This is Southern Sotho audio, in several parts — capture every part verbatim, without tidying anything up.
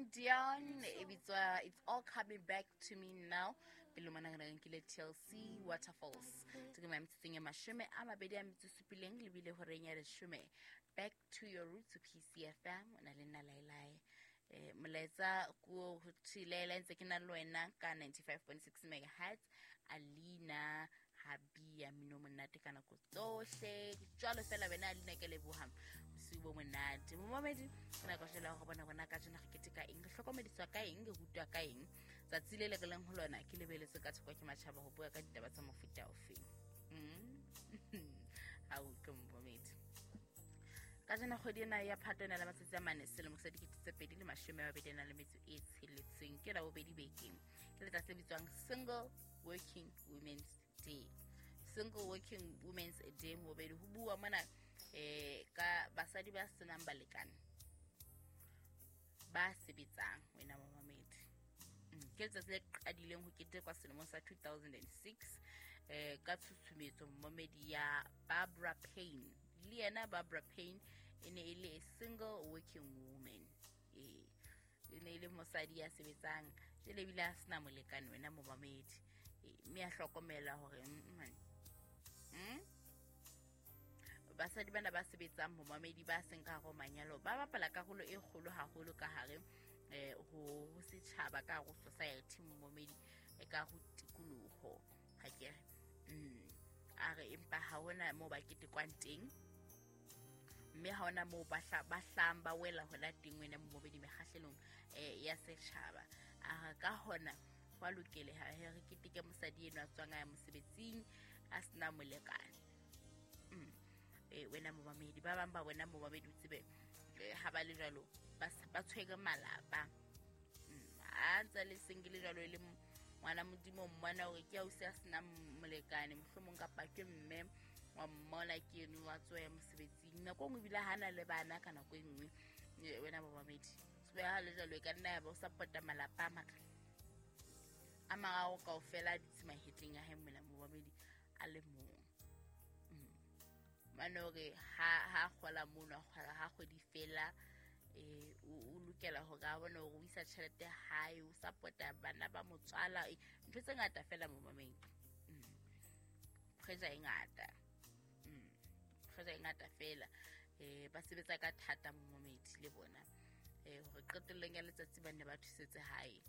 Celine Dion e bitswa It's All Coming Back to Me Now. Pele mona re nkile T L C Waterfalls. Ke metsotsong e mashome a mabedi a metso supileng lebile horeng ya leshome. Back to your roots P C F M o na le nna Lailai. Eh, molaetsa ko ho thilela ntse ke na le wena ka ninety-five point six megahertz. Alina Habia mino monate ka nako tsohle jwalo fela wena Alina ke leboha bosiu bo monate. Momamedi ke nako jela go bona bona ka jena re keteka eng, re hlokomediswa ka eng, re rutwa ka eng. Tsatsi le le re leng ho lona ke lebeletse ka thoko ke matjhaba ho bua ka ditaba tsa mofuta ofeng. Mm. Ha o utlwe momamedi. Ka jena kgwedi ena ya Phato ena le matsatsi a mane selemo sa dikete tse pedi le mashome a mabedi a nang le metso e tsheletseng, ke la bobedi bekeng. Ke letsatsi le bitswang Single Working Women's Day. Single Working Women's Day mobedi ho bua mona eh ka basadi ba senang balekane ba sebetsang wena momamedi. Ke letsatsi le qadileng ho ketekwa selemong sa two thousand six eh ka tshusumetso momamedi ya Barbara Payne. Le yena Barbara Payne e ne e le a single working woman. Eh e ne e le mosadi ya sebetsang jele ebile a sena molekane wena momamedi. Mme a hlokomela hore mm basadi bana ba sebetsang momamedi ba seng ka hare ho manyalo ba bapala karolo e kgolo haholo ka hare eh ho setjhaba, ka hare ho society momamedi, e ka ho tikoloho. Ha ke re mm a re empa ha hona moo ba ketekwang teng, mme ha hona moo ba ba hlang ba wela hona teng wena momamedi mekgahlelong eh ya setjhaba. A re ka hona hwa lokeleha he re keteke mosadi enwa a tswang a ya mosebetsing a sena molekane. Mm. Eh wena momamedi ba bang ba wena momamedi o tsebe ha ba le jwalo ba ba tshwere malapa. Mm. A ntse le single jwalo e le ngwana Modimo mmona hore ke ausi a sena molekane mohlomong kapa ke mme wa mmona ke eno wa tswa mosebetsing nako nngwe ebile ha na le bana ka nako e nngwe wena momamedi. Tsebe ha le jwalo e ka nna ya ba o support-a malapa a maka a mararo kaofela a dutse mahetleng a hae mola momamedi a le mong. Mm. Mane hore ha ha kgola mono a kgola ha kgwedi fela eh o lokela hore a bone hore o isa tjhelete hae, o support-a bana ba motswala, ntho tse ngata fela momamedi. Mm. Pressure e ngata. Mm. Pressure e ngata fela. Eh ba sebetsa ka thata momamedi le bona. Eh hore qetellong ya letsatsi ba ne ba thusetse hae.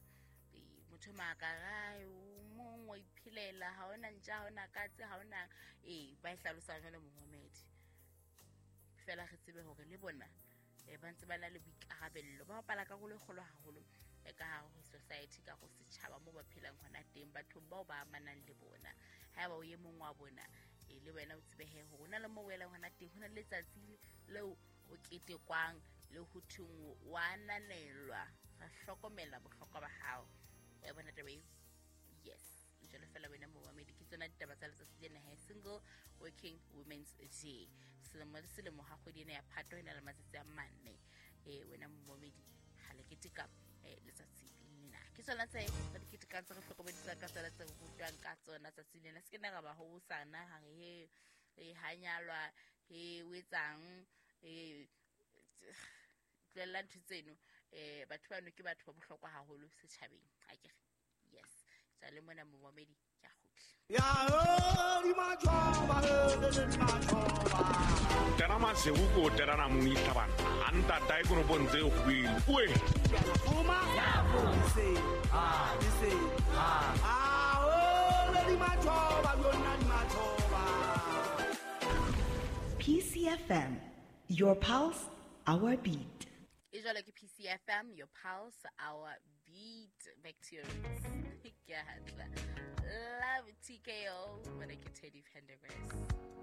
Motho makara o mong wa iphelela ha ona ntja, ha ona katse, ha ona eh ba e hlalosa jwalo momamedi. Fela re tsebe hore le bona eh ba ntse ba na le boikarabello, ba bapala karolo e kgolo haholo ka hare ho society, ka ho setjhaba moo ba phelang hona teng, bathong bao ba amanang le bona. Haeba o ye mong wa bona eh le wena o tsebe he hore hona le moo o elang hona teng, hona le letsatsi leo o ketekwang le ho thweng wa ananelwa, ra hlokomela bohlokwa ba hao. Ya bona taba eo? Yes. Jwalo fela wena momamedi, ke tsona ditaba tsa letsatsi lena he Single Working Women's Day. Selemo le selemo ha kgwedi ena ya Phato e na le matsatsi a mane. Eh wena momamedi ha le keteka eh letsatsi lena. Ke tsona tse re di ketekang, tse re hlokomedisang ka tsona, tse re rutwang ka tsona tsatsi lena. Se ke na ra ba hosana ha re he e hanyalwa he o etsang eh tlohella ntho tseno. Eh batho bano ke batho ba bohlokwa haholo setjhabeng. Ha ke re yes. Tsale mona momamedi ke a kgutla. Ya ho di majoba le majoba. Tera masego ko terana mong itlhabana. Anta tae kono bontse go ile. Oe. Fuma. Se. Ah, se. Ah, ah oh le di majoba lona di majoba. P C F M, your pulse, our beat. E jwalo ke P C F M, your pulse, our beat. Back to your roots. Ke a hatla. Love T K O, mona ke Teddy Pendergrass.